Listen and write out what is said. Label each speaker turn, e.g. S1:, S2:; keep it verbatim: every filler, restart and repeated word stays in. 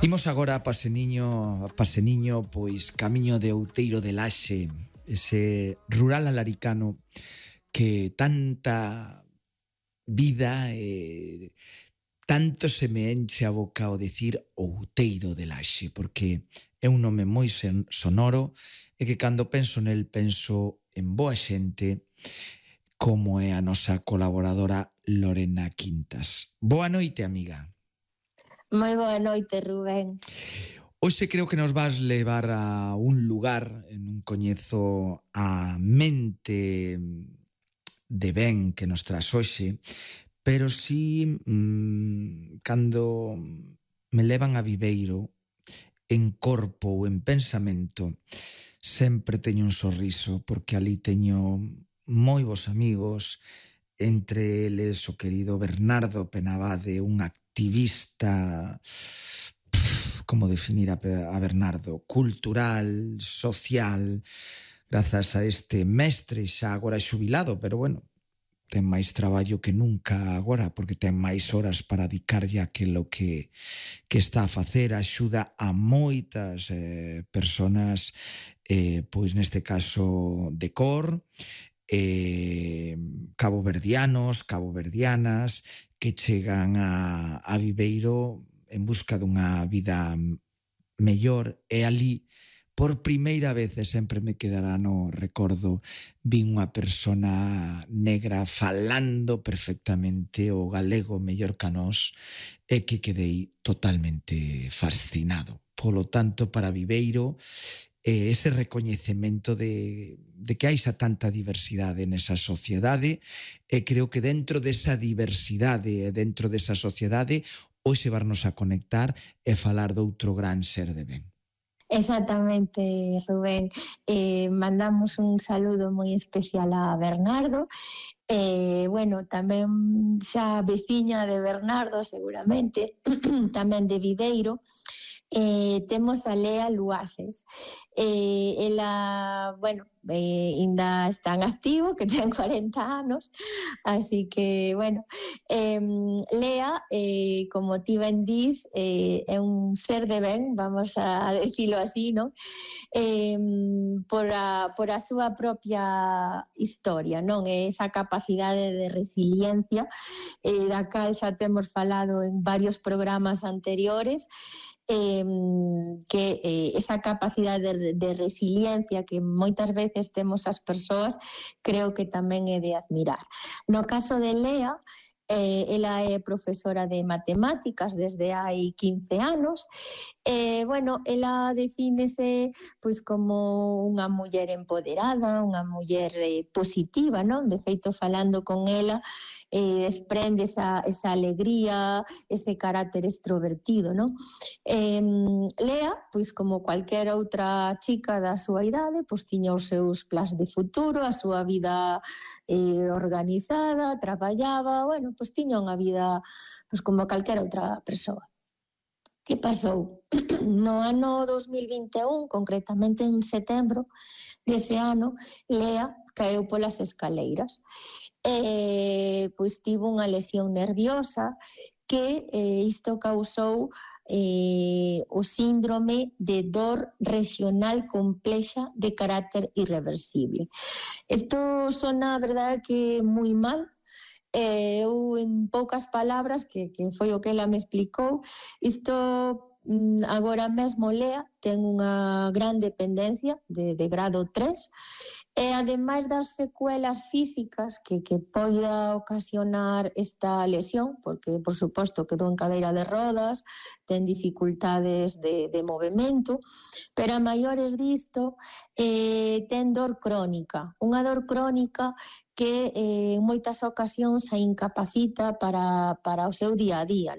S1: Imos agora a Paseniño, a Paseniño, pois camiño de Outeiro de Laxe, ese rural alaricano que tanta vida e tanto se me enche a boca ao decir Outeiro de Laxe, porque é un nome moi sonoro e que cando penso nel penso en boa xente como é a nosa colaboradora Lorena Quintas. Boa noite, amiga.
S2: Moi boa noite, Rubén.
S1: Hoxe creo que nos vas levar a un lugar, non coñezo a mente de ben que nos tras hoxe, pero si mmm, cando me levan a Viveiro, en corpo ou en pensamento, sempre teño un sorriso, porque ali teño moi bons amigos, entre eles o querido Bernardo Penabade, un activista, como definir a Bernardo, cultural, social, grazas a este mestre xa agora xubilado, pero bueno, ten máis traballo que nunca agora, porque ten máis horas para dedicarlle aquilo que, que está a facer, axuda a moitas eh, personas, eh, pois neste caso de cor, eh, caboverdianos, caboverdianas, que chegan a, a Viveiro en busca dunha vida mellor, e ali por primeira vez, e sempre me quedará no recordo, vin unha persona negra falando perfectamente o galego mellor que a nós, e que quedei totalmente fascinado. Polo tanto, para Viveiro, eh, ese recoñecemento de, de que hai xa tanta diversidade nesa sociedade, e creo que dentro desa diversidade e dentro desa sociedade hoxe varnos a conectar e falar doutro gran ser de ben.
S2: Exactamente, Rubén. Eh, mandamos un saludo moi especial a Bernardo. Eh, bueno, tamén xa veciña de Bernardo, seguramente, tamén de Viveiro. Eh, temos a Lea Luaces. Eh, ela, bueno, eh, ainda está en activo, que ten cuarenta anos, así que, bueno, eh, Lea, eh, como ti ben dís, eh, é un ser de ben, vamos a decirlo así, non? Eh, por, a, por a súa propia historia, non? Esa capacidade de resiliencia, eh, da cal xa temos falado en varios programas anteriores, Eh, que eh, esa capacidade de, de resiliencia que moitas veces temos as persoas, creo que tamén é de admirar. No caso de Lea, eh, ela é profesora de matemáticas desde hai quince anos, e, bueno, ela defínese pois como unha muller empoderada, unha muller eh, positiva, non? De feito, falando con ela, eh, desprende esa, esa alegría, ese carácter extrovertido, non? Eh, Lea, pois como cualquier outra chica da súa idade, pois tiña os seus plans de futuro, a súa vida eh, organizada, traballaba, bueno, pois tiña unha vida pois como calquera outra persoa. Que pasou? No ano dos mil vinte e un, concretamente en setembro dese ano, Lea caeu polas escaleiras. E, pois tivo unha lesión nerviosa que eh, isto causou eh, o síndrome de dor regional complexa de carácter irreversible. Isto sona, a verdade, que moi mal. Eh, eu, en poucas palabras, que, que foi o que ela me explicou, isto agora mesmo Lea ten unha gran dependencia de, de grado tres, e ademais das secuelas físicas que, que poida ocasionar esta lesión, porque por suposto quedou en cadeira de rodas, ten dificultades de, de movimento, pero a maiores disto eh, ten dor crónica, unha dor crónica que eh, en moitas ocasións a incapacita para, para o seu día a día, non?